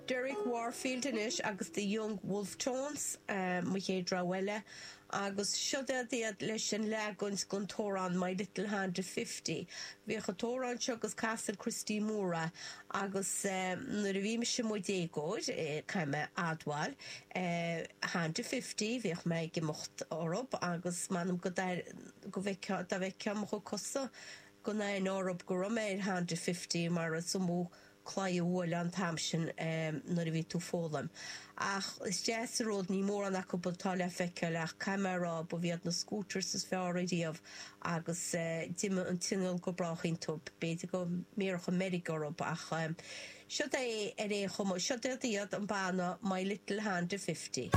Derek Warfield anois agus The Young Wolfe Tones, mo chéad rogha eile, agus siod iad leis an leagan den t-amhrán My Little Honda Fifty. Bhíodh an t-amhrán seo agus casann Christy Moore é agus nuair a bhí mise i mo dhéagóir, caithfidh mé a admháil, Honda Fifty, bhíodh mé ag imeacht orthub agus m'anam go go bhfeicfeá, dá bhfeicfeá mo chuid cosa gan aithne orthub go raibh mé ar Honda Fifty mar is iomaí claí a bhuaileadh an t-am sin nuair a bhí tú ag foghlaim. Ach is deas an rud, níl mórán acu atá le feiceáil ach caithfidh mé a rá, ba iad na scooters is fearr ariamh agus d'imigh an t-inneall go brách iontu. B'fhéidir go mbéarfadh an meirg orthu ach siod é ar aon chuma, siod iad an banna My Little Honda Fifty.